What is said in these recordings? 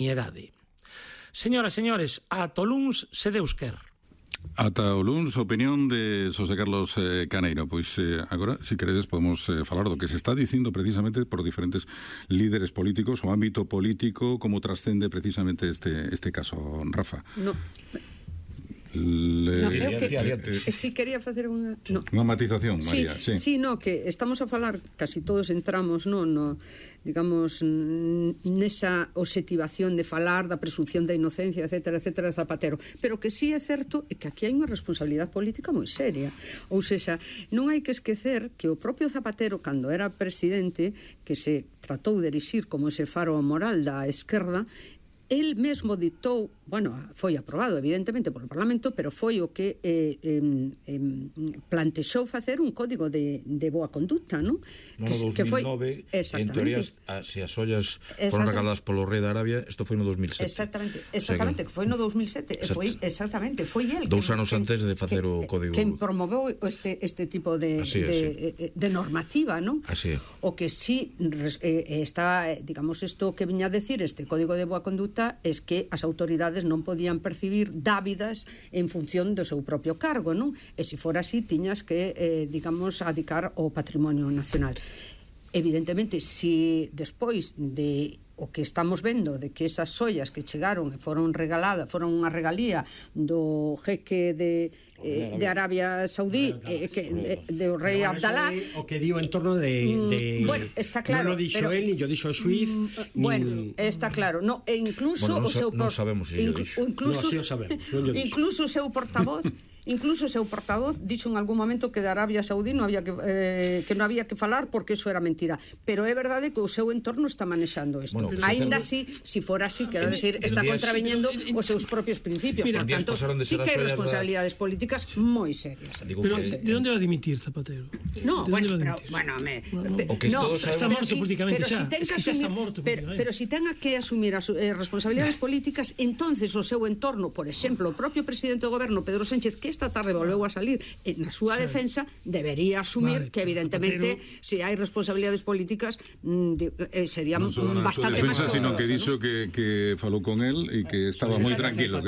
idade. Señoras, señores, ata o luns se Deus quer. Ata o luns, a opinión de Xosé Carlos Caneiro. Pois agora, se queredes, podemos falar do que se está dicindo precisamente por diferentes líderes políticos, o ámbito político, como trascende precisamente este caso, Rafa. No. Si quería facer unha matización, María. Sí, que estamos a falar, casi todos entramos digamos, nesa obxectivación de falar da presunción da inocencia, etcétera, etcétera, de Zapatero, pero que sí é certo é que aquí hai unha responsabilidade política moi seria. Ou seja, non hai que esquecer que o propio Zapatero, cando era presidente, que se tratou de erixir como ese faro moral da esquerda, el mesmo ditou, foi aprobado evidentemente polo Parlamento, pero foi o que plantexou facer un código de boa conducta, non? No 2009, en teoría, se as ollas foron regaladas polo rei de Arabia, isto foi no 2007. Exactamente, que foi no 2007, foi el 2 anos antes de facer o código, quen promoveu este tipo de normativa, non? Así é. O que sí está, digamos, isto que viña a decir este código de boa conduta é que as autoridades non podían percibir dábidas en función do seu propio cargo, non? E se fora así, tiñas que, digamos, adicar o patrimonio nacional. Evidentemente, se despois de o que estamos vendo, de que esas ollas que chegaron e foron regaladas, foron unha regalía do jeque de Arabia Saudí, do rei Abdalá, o que digo en torno de bueno, está claro, non o dixo el, ni o dixo o xuiz, bueno, está claro, e incluso o seu non sabemos se o dixo. Incluso o seu portavoz dixo en algún momento que de Arabia Saudí non había que falar porque eso era mentira, pero é verdade que o seu entorno está manexando isto. Aínda así, se fora así, quero decir, está contraveñendo os seus propios principios. Por tanto, sí que hai responsabilidades políticas moi serias. Pero de onde va a dimitir Zapatero? No, bueno, está morto políticamente xa. Pero si tenga que asumir as responsabilidades políticas, entonces o seu entorno, por exemplo, o propio presidente do goberno, Pedro Sánchez, que esta tarde volveu a salir na súa defensa, debería asumir que evidentemente se hai responsabilidades políticas sería bastante máis defensa, sino que dixo que falou con él e que estaba moi tranquilo,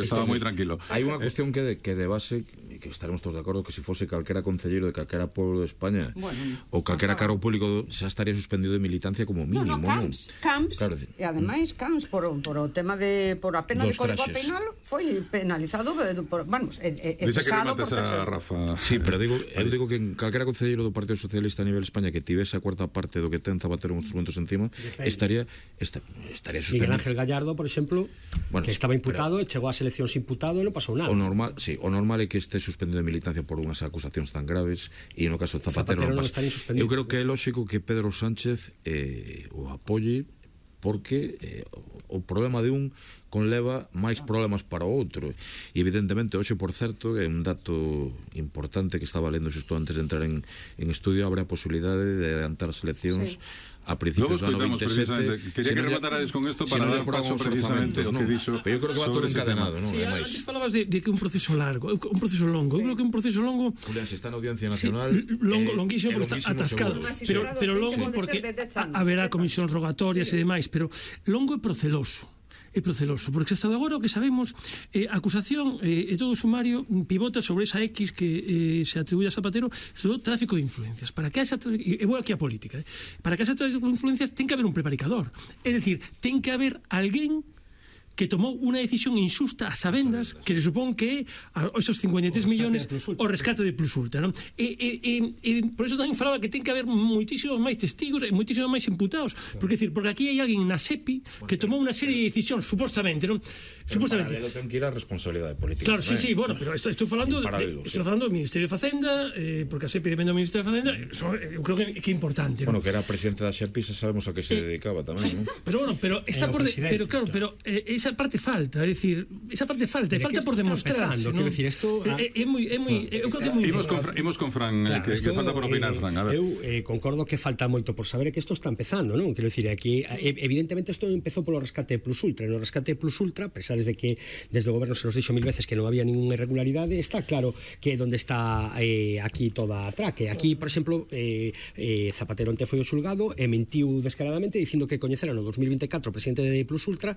Hai unha cuestión que de base, que estaremos todos de acordo, que se fose calquera concelleiro de calquera pueblo de España ou calquera cargo público xa estaría suspendido de militancia como mínimo. Camps, e ademais Camps por o tema por a pena de código penal foi penalizado cesado por terceiro. Rafa. Sí, pero eu digo que en calquera concelleiro do Partido Socialista a nivel España que tivese a cuarta parte do que ten Zapatero instrumentos encima, estaría suspendido. Miguel Ángel Gallardo, por exemplo, que estaba imputado e chegou ás eleccións imputado e non pasou nada. O normal é que este suspendido de militancia por unhas acusacións tan graves, e no caso de Zapatero non pasa. Eu creo que é lógico que Pedro Sánchez o apoie, porque o problema de un conleva máis problemas para o outro, e evidentemente hoxe, por certo, é un dato importante que estaba lendo xusto antes de entrar en estudio, abre a posibilidade de adelantar as eleccións a principios do ano 27. Quería que rematarades con isto para dar paso precisamente o que dixo. Pero eu creo que va todo encadenado, non? Antes falabas de que un proceso largo, un proceso longo. Eu creo que un proceso longo, Julián, se está na Audiencia Nacional, longuísimo porque está atascado, pero longo porque haberá comisións rogatorias e demais, pero longo e proceloso. Porque hasta agora o que sabemos, a acusación e todo o sumario pivota sobre esa X que se atribuye a Zapatero, sobre o tráfico de influencias. Para que esa, e vou aquí a política, para que esa tráfico de influencias ten que haber un prevaricador, é dicir, ten que haber alguén que tomou unha decisión injusta a sabendas, que se supón que é esos 53 millones o rescate de Plus Ultra, non? E por eso tamén falaba que ten que haber moitísimos máis testigos e moitísimos máis imputados, porque aquí hai alguén na SEPI que tomou unha serie de decisións, supostamente, non? Supostamente. Pero ten que ir a responsabilidade política. Claro, sí, bueno, pero estou falando do Ministerio de Facenda, porque a SEPI depende do Ministerio de Facenda, eu creo que é importante, non? Bueno, que era presidente da SEPI, sabemos a que se dedicaba tamén, non? Pero está por... Pero claro, pero esa parte falta, é dicir, falta por demostrar. Quero dicir, isto é moi, eu creo que é moi... Imos con Fran, que falta por opinar, Fran, a ver. Eu concordo que falta moito por saber que isto está empezando, non? Quero dicir, aquí evidentemente isto empezou polo rescate Plus Ultra, no rescate Plus Ultra, a pesar de que desde o goberno se nos dixo 1000 veces que non había ninguna irregularidade, está claro que onde está aquí toda a traque. Aquí, por exemplo, Zapatero onte foi ao xulgado e mentiu descaradamente dicindo que coñecera no 2024 o presidente de Plus Ultra,